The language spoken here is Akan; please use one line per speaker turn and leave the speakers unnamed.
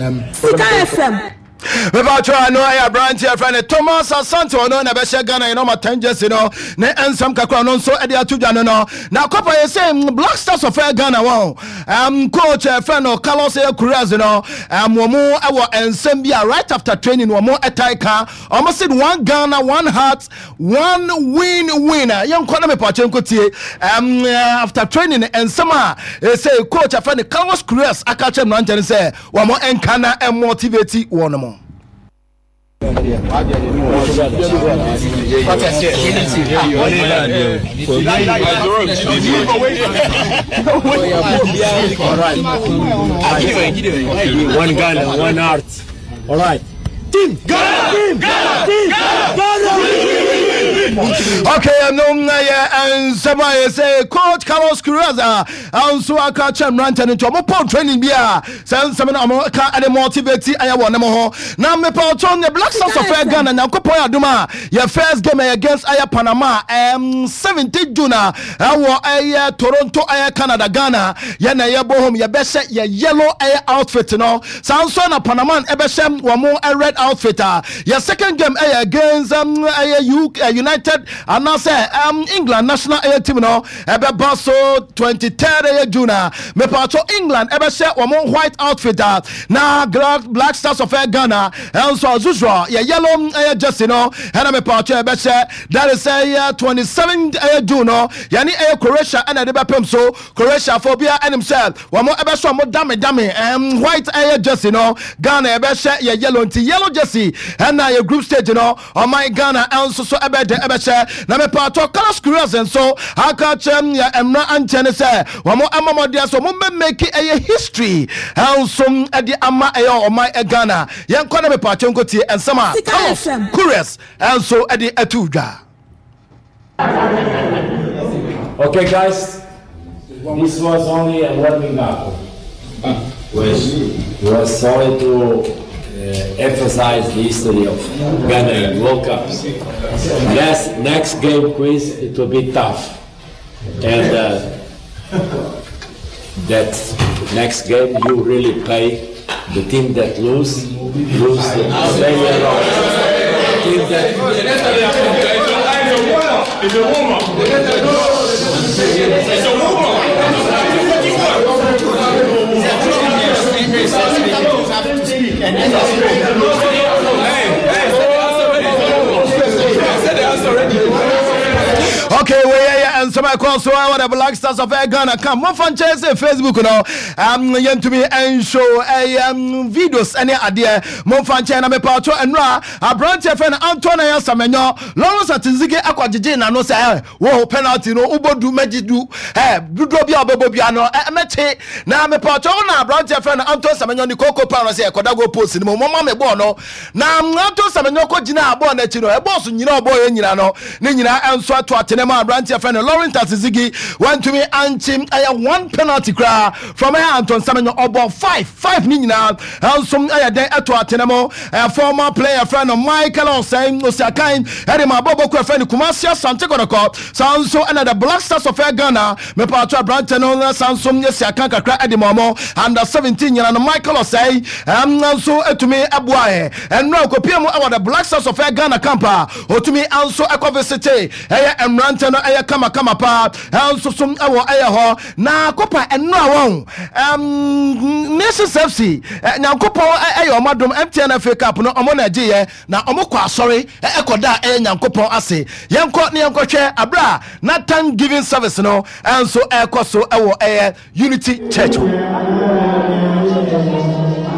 And
Sika FM.
Mepatwa no ɛyɛ aberanteɛ frɛ no Thomas Asante, ɔno na ɛbɛhyɛ Ghana yɛn ɔma 10 jersey no ne nsɛm kakra ɔno nso ɛde ato dwa no. Na kɔpa yɛ sɛ Black Stars of Ghana wɔn coach ɛfrɛ no Carlos ɛyɛ Queiroz no, wɔn mu ɛwɔ nsɛm bi a right after training wɔn ɛtae ka. Wɔn said "One Ghana, one heart, one win win." Yɛnkɔ na mepatwa nkɔtie after training nsɛm a ɛsɛ coach afrɛ no Carlos Queiroz aka kyerɛ mmeranteɛ no sɛ wɔn nka na motivate wɔn mo.
One Ghana, one heart. All right. Team Ghana, Team Ghana, Team Ghana.
Okay, no yɛ nsɛm a yɛsɛ coach Carlos Queiroz a nso aka kyerɛ mmeranteɛ no, nti ɔmo pɔn training bi a sɛ nsɛm no ɔmo ka ɛde motivate ɛyɛ wɔ ne mo ho. Na mepɛ ɔtɔ ne Black Stars of Ghana, Nyankopɔn yɛ adom a yɛ first game ɛyɛ against ɛyɛ Panama 17 June a ɛwɔ ɛyɛ Toronto, ɛyɛ Canada. Ghana yɛ na yɛbɔ home, yɛbɛhyɛ yɛ yellow ɛyɛ outfit no, saa nso na Panama ɛbɛhyɛ wɔn red outfit. A yɛ second game ɛyɛ against ɛyɛ U United anaasɛ England national ɛyɛ team no, ɛbɛba so 23rd ɛyɛ June a mepatɔ England ɛbɛhyɛ wɔn white outfit a na Black Stars of Ghana ɛnso as usual yɛ yellow ɛyɛ jersey no ɛna mepatɔ ɛbɛhyɛ. That is ɛyɛ 27 ɛyɛ June no, yɛne ɛyɛ Croatia ɛna ɛde bɛpem so. Croatia fo bia ɛnim sɛ wɔn ɛbɛhyɛ wɔn dame dame white ɛyɛ jersey no, Ghana ɛbɛhyɛ yɛ yellow, nti yellow jersey ɛna yɛ group stage no ɔman Ghana ɛnso so ɛbɛde ɛbɛhyɛ. Na mepatɔ Carlos Queiroz nso aka kyerɛ yɛ mmra ankyɛn ne sɛ wɔn ama mɔdeɛ so wɔn bɛ make ɛyɛ history ɛnso ɛde ama ɛyɛ ɔman Ghana. Yɛnkɔ na mepatɔ nkotie nsɛm a Carlos Queiroz ɛnso ɛde ɛto dwa.
Okay, guys, this was only a warming up. Was only to emphasize the history of Ghana in World Cups. Next game quiz, it will be tough. And that next game you really pay the team that lose, lose the pay a lot. The team that
It's a warm-up. It's a warm-up.
Okay, wei yɛ nsɛm a ɛkɔ so ɛwɔ the Black Stars of Ghana kam. Momfa nkyɛn sɛ Facebook no yɛntumi ɛnhyo ɛyɛ videos ɛne adeɛ, momfa nkyɛn. Na mepaato ɛnora aberanteɛ fɛ no Antoine ɛyɛ Semenyo, Lawrence Ati-Zigi akɔgyegye n'ano sɛ wo penalty no wobɔ du mɛgye du dodoɔ bi a wobɛbɔ bia no mɛkye. Na mepaato wo na aberanteɛ fɛ no Antoine Semenyo ne koko pa no sɛ ɛkɔda goal post no mu, mɔma me bɔɔl no. Na Antoine Semenyo kɔ gyina bɔɔl no akyi no, ɛbɔɔ so nyina ɔbɔɔ yɛ nyina no ne nyinaa ɛnso ato atene ma aberanteɛ fɛ no Lawrence Ati-Zigi wantumi ankye ɛyɛ one penalty koraa from ɛyɛ Antoine Semenyo. Ɔbɔ five five ne nyinaa ɛnso ɛyɛ dɛn ɛto atene mu. Former player fɛ no Michael Osei Osiakan ɛde ma abɔbɔ kɔ ɛfɛ no Kumasi Asante Kɔtɔkɔ, saa nso ɛna the Black Stars of Ghana. Mepaato aberante no saa nso yɛsi akan kakra ɛde ma ɔmo under 17 nyina no. Michael Osei nso etumi ɛboa ɛ ɛnura okopie mu ɛwɔ the Black Stars of Ghana camp a otumi nso ɛkɔ visit ɛyɛ mmerante no, ɛyɛ kamakama paa ɛnso so ɛwɔ ɛyɛ hɔ. Na kopa ɛnura wɔn Nations FC, Nyankopɔn ɛyɛ ɔmo adom, MTN FA Cup no ɔmo na ɛgye yɛ na ɔmo kɔ asɔre ɛkɔ da ɛyɛ Nyankopɔn ase. Yɛnkɔ ne yɛnkɔhwɛ abere a na thanksgiving service no ɛnso ɛkɔ so ɛwɔ ɛyɛ Unity Church hɔ.